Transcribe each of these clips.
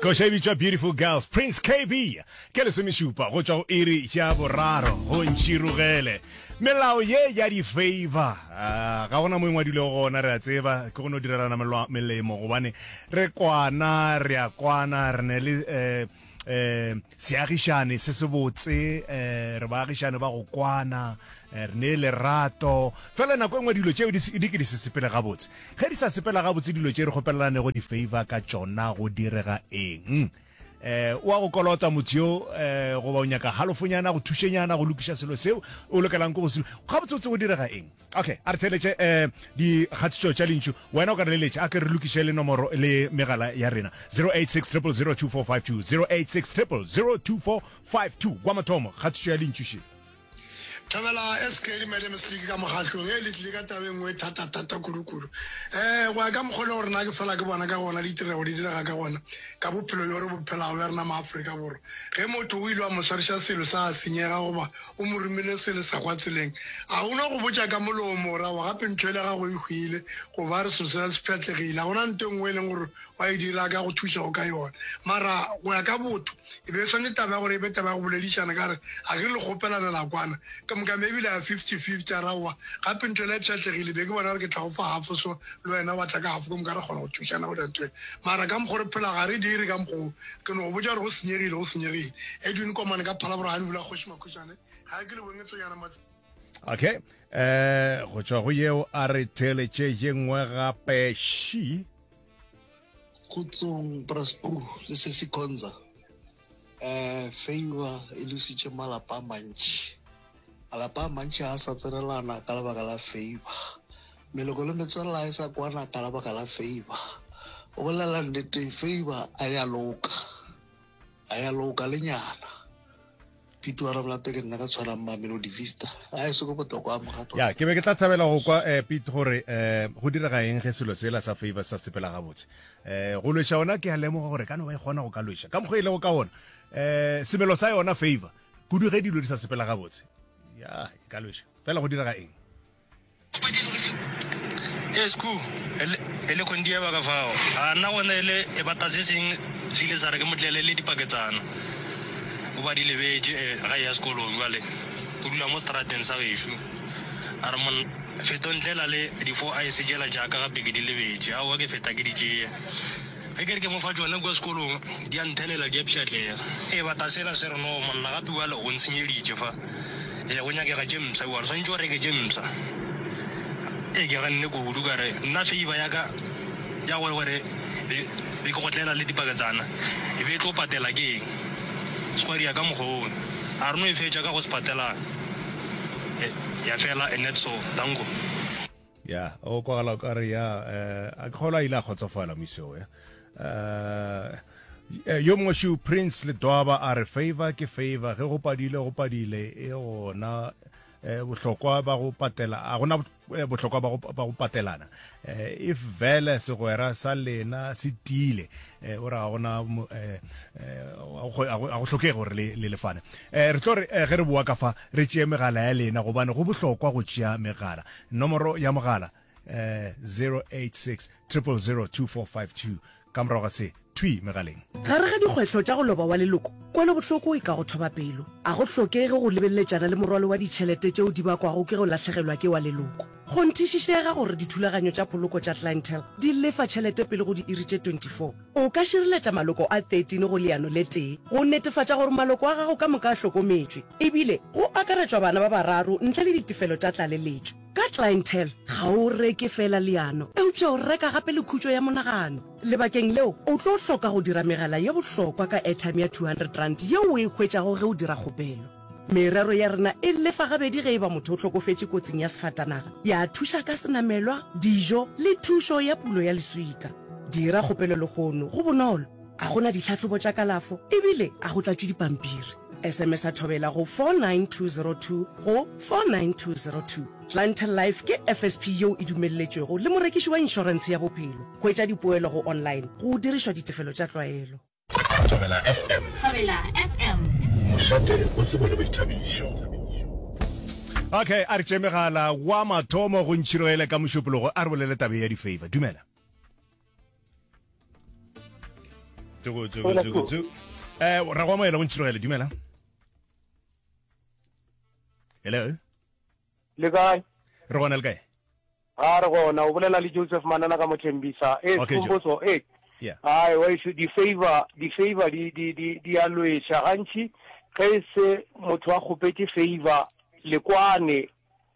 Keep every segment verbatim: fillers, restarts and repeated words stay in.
Koša e bitšwa Beautiful Girls, Prince K B ke lesomešupa go tšwa go iri ya boraro go ntšhirogele. Melao ye ya di-favor uh, ga gona mo e ngwadilego gona, re a tseba ke go no direlana melemo gobane re kwana, re a kwana, re ne le eh, eh seagišane se se botse, eh re baagišane ba go kwana, eh, re ne lerato. Fela nako e nngwe dilo tšeo di ke di se sepele gabotse. Ge di sa sepela gabotse dilo tše re kgopelelanego di-favor ka tšona, go direga eng? eh o a go kolota motho yo, eh goba o nyaka halofonyana go thušenyana go lokiša selo seo o lokelang ke go se gabotse botse, go direga eng? Okay, a re theletše eh dikgatišo tša lentšu. Wena o ka re leletša, a ke re lokiše le nomoro le megala ya rena, zero eight six zero zero zero two four five two, zero eight six zero zero zero two four five two. Wa mathomo, kgatišo ya lentšu še. Thobela S K le Madam Speaker ka mokgatlong e le tlile ka taba e nngwe thata-thata kudu-kudu. um go ya ka mokgwa le gore na ke fela ke bona ka gona ditirego di direga ka gona ka bophelo bjo re bo phelago bja rena maAforika Borwa, ge motho o ile wa mo swariša selo sa senyega goba o mo romile selo sa kwa tseleng, a o no go botša ka molomo gore aowa gape ntho ele gago e hwile goba re selo sela se pšhatlegile. Ga gona nto e nngwe e leng gore wa e dira ka go thušago ka yona, mara go ya ka botho e be e swane taba ya gore e be taba ya go boledišana ka re ga ke re le kgopelana la kwana ka moka, ebile ya fifty fifty, a raowa gape ntho ela e pšhatlegile, be ke bona gore ke tla go fa half, so le wena wa tla ka half, ka moka re kgona go thušana go dira ntho e. Mara ka mokgwa re phela ga re dire ka mokgwa, ke no go botša gore go senyegile, go senyegile. Edwin Komane ka Phalaborwa, ga bula kgoši Makhušane, ga ke le bong e tsonyana matse. Okay, eh go tšwa go yeo a re theletše ye nngwe gape ši. Kgotsong Braspu le se Konza. eh favor e lositše malapa a mantši. Malapa a mantši a sa tsenelana ka lebaka la favor. Meloko le metswalle a e sa kwana ka lebaka la favor. O bolela nnete, favor a ya loka, a ya loka le nyana. Pito Ramolape, ke nna ka tshwanang Mamelodi Vista a e se ko botlokwa mogato. Ya, ke be ke tla thabela go kwa, eh Pete, gore eh go direga eng ge selo sela sa favor sa sepela gabotse. eh go lweša ona ke a lemoga gore ka no ba e kgona go ka lweša ka mokgwa e lego ka ona, eh semelo sa yona favor, kudu ge dilo di sa sepela gabotse, ya e ka lweša. Fela go direga eng? Esku e le kondieba ka fao a nna gona e le e bata se seng se ile sa re ke motlele le dipaketsana o ba di lebetše ga ya sekolong. Jwale o dula mo strateng sa gešo, a re monna feto ntlela le di-four ice tšela jaaka gape ke di lebetše. Aowa, ke feta ke di tšea, ge ke re ke mo fa tšone kua sekolong di a nthelela, di a pšhatlega. E bata sela se re no monna gape bjale o ntshenyeditše fa, e go nyakega tše mpsha, bjale swanetše o reke tše mpsha. E ke ganne kudu, ka re nna favor ya ka ya gore gore be ke go tlela le dipaketsana e be e tlo patela ke eng? Square ya ka mokgwa oo a re no e fetša ka go se patela ya fela and so danko. Ya, o kwagala o kare ya eh a ke kgolwa ile a kgotsofala moiseo ya. eh yo mongwe shu Prince Ledwaba a re favor ke favor, ge go padile go padile, e gona eh bohlokwa ba go patela, a gona bohlokwa ba go ba go patelana. eh if vele segwera sa lena se tiile, eh o ra gona eh a go hlokege gore le le lefane. eh re tlo re ge re boa ka fa re tšee megala ya lena, gobane go bohlokwa go tšea megala. Nomoro ya mogala eh zero eight six zero zero zero two four five two. Ka morago ga se thwi megaleng. Gare ga dikgwetlho tša go loba wa leloko, kwelobohloko e ka go thoba pelo. A go hlokege go lebeletšana le morwalo wa ditšhelete tšeo di bakwago ke go lahlegelwa ke wa leloko. Kgonthišišega gore dithulaganyo tša poloko tša Clientele di lefa tšhelete pele go diiri tše twenty-four. O ka šireletša maloko a thirteen go leano le tee go netefatša gore maloko a gago ka moka a hlokometšwe, ebile go akaretšwa bana ba bararo ntle le ditefelo tša tlaleletšo. Ka Clientele ga o reke fela leano, eupša o reka gape le khutšo ya monagano. Lebakeng leo o tlo hloka go dira megala ye bohlokwa ka airtime ya two hundred rand yeo o e hwetšago ge o dira kgopelo. Merero ya rena e lefa gabedi ge e ba motho o hlokofetše kotsing ya sefatanaga, ya thuša ka senamelwa, dijo le thušo ya pulo ya leswika. Dira kgopelo lehono, go bonolo, a gona ditlhahlobo tša kalafo ebile a go tlatšwe dipampiri. S M S a thobela go four nine two zero two go four nine two zero two. Clientele Life ke F S P yeo e dumelletšwego le morekiši wa inšorentshe ya bophelo. Hwetša dipoelo go online go dirišwa ditefelo tša tlwaelo. Thobela F M. Thobela F M. Mošate o tsebo le boithabišo. Okay, a re tšee megala. Wa mathomo go ntšhiroele ka Mošupologo, a re bolele tabe ya di-favor. Dumela. Toko toko toko toko. Eh ra go amohela go ntshirogele dumela. Hello. Le kae? Re gona le kae? A re gona o bolela le Joseph Manana ka Mothembisa. Eh Okay, Joe. Skhumbuzo eh Yeah. Ai wa isu di favor di favor di di di di a lwetša gantši ge e se motho a kgopetše favor le kwane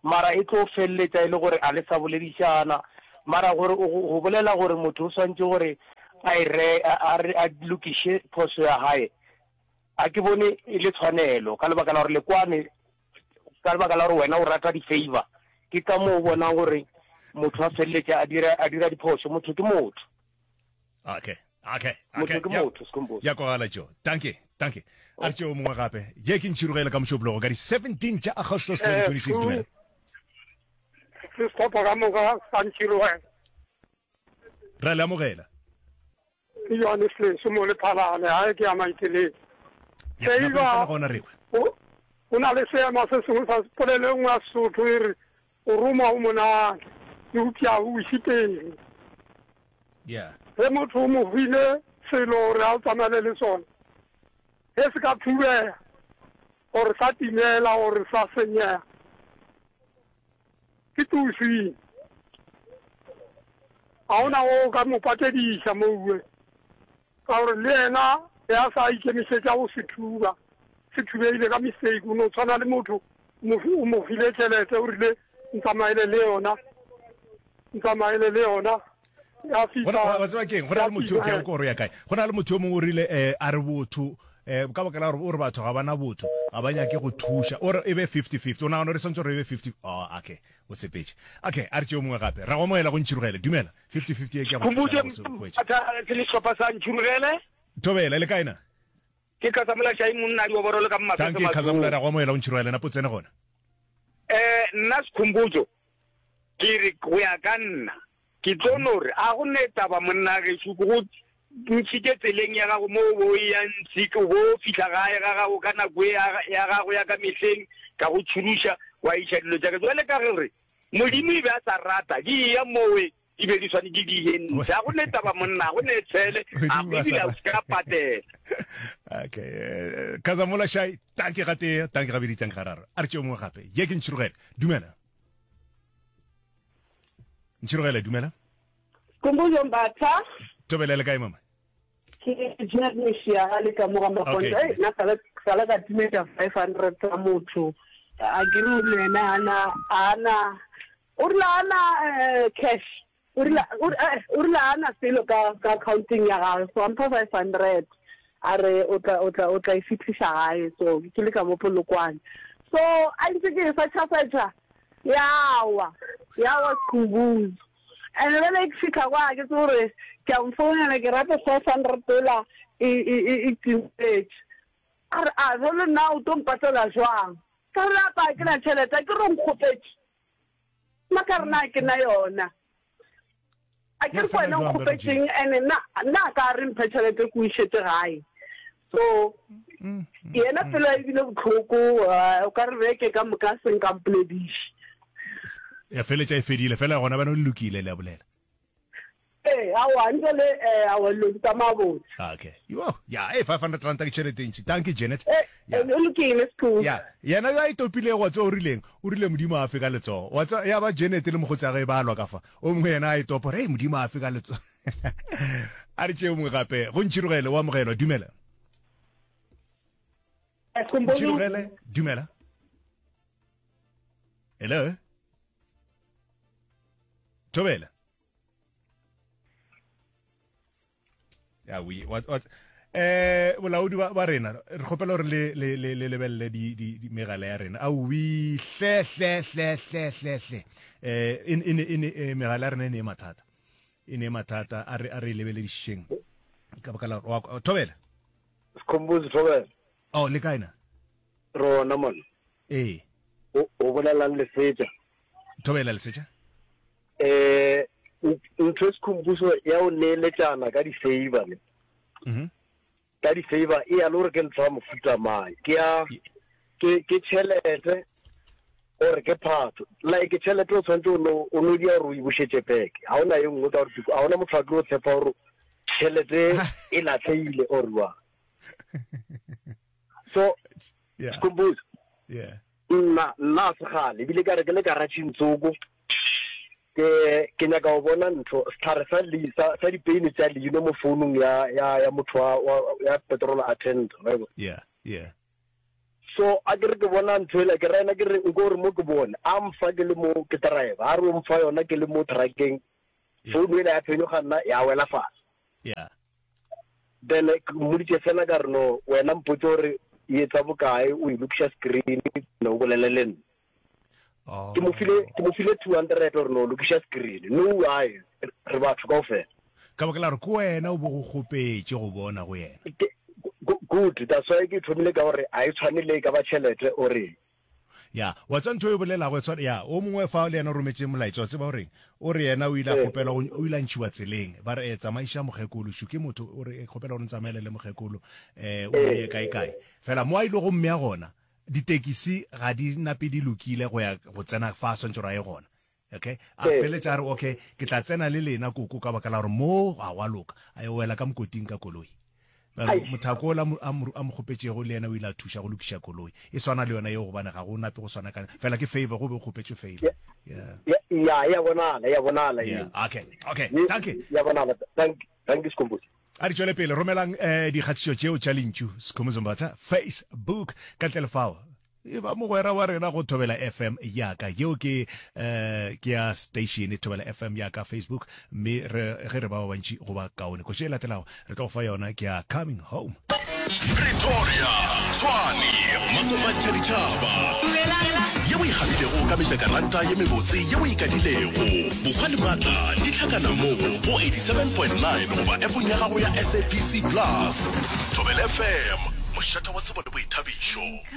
mara e tlo feleletša e le gore a le sa boledišana mara gore o go bolela gore motho o swantše gore a e re a re a lokiše phoso ya hae a ke bone e le tshwanelo ka lebaka la gore le kwane ka lebaka la gore wena o rata di-favor ke ka moo o bonang gore motho a feleletša a dira a dira diphoso motho ke motho Okay. Okay. motho Okay. ke Ya motho Skhumbuzo ya kwagala Joe. Dankie. Dankie. A re tšeo mongwe gape. Ye ke ntšhirogele ka mošupologo ka di seventeen tša Agostos twenty twenty-six dumela. Sehlopha ka moka sa ntšhirogela. Ra le amogela. Ke Johannes Leso mo Lephalale, gae ke ya Maiteleng. Ya nako e tsena gona re kwe. O o na le seema se sengwe sa polelo e nngwe ya Sesotho e re o roma o monate eupša o iše pele. Yeah. Ge motho o mo file selo gore a o tsamaele le sona, ge se ka thubega gore sa timela gore sa senyega, ke tusing. Ga ona o ka mo patediša moue, ka gore le yena ge a sa ikemišetša go se thuba, se thubegile ka mistake. O no tshwana le motho o mo file tšhelete o rile ntsamaele le yona, ntsamaele le yona. Ya fihla Wa tseba keng, go na le motho ke ko re ya kae, go na le motho yo mongwe o rile eh a re botho eh ka baka la gore o re batho ga bana botho, ga ba nyake go thuša, o re e be fifty fifty. O nagana gore swantse gore e be fifty? Oh, okay, o sepetše. Okay, a re tšeo mongwe gape. Ra go amohela go ntšhirogele dumela. Fifty fifty e ke ya go thuša go se hwetša. Ke le sehlopha sa ntšhirogele. Thobela le kae na? Ke Khasamola Shai monna di oborolo ka mmasese. Thank you Khasamola, ra go amohela go ntšhirogele na potsene gona. Eh nna Skhumbuzo ke re go ya ka nna ke tlo no re a go ne taba monna gešo ke go ntšhitše tseleng ya gago mo o bo ya ntši o bo fihla gae ga gago ka nako ya gago ya ka mehleng ka go tšhuruša wa iša dilo tša ka jwale ka gore Modimo e be a sa rata di eya mowe di be di swanetše di ye ntle. A go ne taba monna, a go ne tshele, a go ebile a se ka patela. Okay, Khasamola Shai, tanki ga tee, tanki gabedi, tanki gararo. A re tšeo mongwe gape. Ye ke ntšhirogele. Dumela. Ntšhirogele, dumela. Skhumbuzo Mbatha. Thobela le kae mama? Ke Janet Meshia le ka mo ga Makonto. Okay. Nna sala sala ka timetsa five hundred tsa motho. A ke re le yena ana ana o rile ana cash. O rile o rile ana selo ka ka accounting ya gagwe, so ampha five hundred. A re o tla o tla o tla e fitlhisa gae, so ke le ka mo Polokwane. So a ntse ke searcha searcha yawa yawa Skhumbuzo. And bjale ke fihla kwa ke tse gore ke a mfounela ke rate five hundred dollar e e e timetše. A re a jwale nna o tlo mpatela jwang? Ka re apa ke na tšhelete, ke re nkgopetše. Nna ka re na ke na yona. A ke re kwena nkgopetšeng ene nna nna ka re mphe tšhelete ke o išetse gae. So yena pelo e bile bohloko, o ka re beke ka moka se nka mpolediše. Ya feletša e fedile fela gona bana le lokile le a bolela. Eh awa ntse le eh awa lo tsamaya botse. Okay. Yo, ya eh five hundred rand ke tšhelete e ntši. Thank you Janet. Eh o lokile Skhumbuzo. Ya, yena yo a itopile go tswa o rileng, o rile Modimo a fe ka letsogo. Wa tswa ya ba Janet le mogotsi wa gagwe ba lwa ka fa. O mongwe yena a itopa re Modimo a fe ka letsogo. A re tšeo mongwe gape go ntšhirogele o amogelwa dumela. Ntšhirogele dumela. Hello. Thobela. Ya we what what eh bolaodi ba rena re kgopela gore le le le le lebelele di di megala ya rena. A wi hle hle hle hle hle hle. Eh in in in megala ya rena e ne mathata. E ne mathata a re a re lebeledišeng. Ka baka la Thobela. Skhumbuzo Thobela. Oh le kae na? Rona mona. Eh. O o bolelang Lesetša. Thobela Lesetša. Eh ntho Skhumbuzo ya o neeletšana ka di-favor ne. Mhm. Ka di-favor e ya le gore ke ntho ya mofuta mang. Ke ya ke ke tšhelete gore ke phatho. Like tšhelete o tshwanetse o no o no dia gore o e bušetše back. Ha ona e nngwe ka gore ha ona motho a tlo tshepa gore Tšhelete e latlhehile or wa. So Yeah. Skhumbuzo, Yeah. nna nna a se kgale ebile ka re ke le karatšheng tsoko ke ke nyaka go bona ntho setlhare sa le sa sa dipeini tša leino mo founung ya ya ya motho wa, wa ya petrol attendant wa e bona. Yeah. Yeah. So a ke re ke bona ntho ela ke ra yena ke re nko gore mo ke bone a mfa ke le mo ke driver a re o mfa yona ke le mo truckeng founu ela ya phenyoga nna ya wela fase. Yeah. Then ke mmoditše fela ka re no wena mpotse gore e etsa bokae o e lokiša screen ne o bolele le nna. Ke mo file ke mo file two hundred gore no lokiša screen no ai re batho kaofela. Ka baka la gore ke wena o bo go kgopetše go bona go yena. Ke good that's why ke thomile ka gore a e tshwane le e ka ba tšhelete or eng. Ya, wa tseba ntho e bolelago e tshwana, ya, o mongwe fa le yena o rometše molaetša, wa tseba o reng? O re yena o ile a kgopelwa go, o ile a ntšhiwa tseleng, ba re, eh, tsamaiša mokgekolo, šo ke motho, o re, eh, kgopela gore ntsamaele le mokgekolo, eh, o mmeye kae kae. Fela mo a ile go mmea gona, ditekisi ga di nape di lokile go ya go tsena fa a swantše gore a ye gona. Okay, a feletša a re, okay, ke tla tsena le lena koko ka baka la gore mo ga gwa loka. A yo wela ka mokoting ka koloi. Ba re mothako ola a mo a mo kgopetšego le yena o ile a thuša go lokiša koloi. E swana le yona yeo gobane ga go nape go swana ka fela ke favor go be go kgopetšwe favor. Yeah. Ya ya bonala ya bonala Yeah, okay. Okay, thank you. Ya bonala. Thank thank you Skhumbuzo. A di tšwele pele romelang eh dikgatišo tšeo tša lentšu Skhumbuzo Mbatha Facebook ka ntle le fao e ba mogwera wa rena go Thobela F M ya ka. Yeo ke eh ke ya station Thobela F M ya ka Facebook, mme re ge re ba ba bantši go ba kaone. Koši e latelago re tlo go fa yona ke ya Coming Home. Pretoria, Tshwane, Makopantšha ditšhaba. Ye o e gabilego ka mejakaranta ye mebotse ye o e kadilego. Bokgwa le maatla di hlakana mo go eighty-seven point nine goba appong ya gago ya S A B C Plus. Thobela F M, mošate wa tsebo le boithabišo.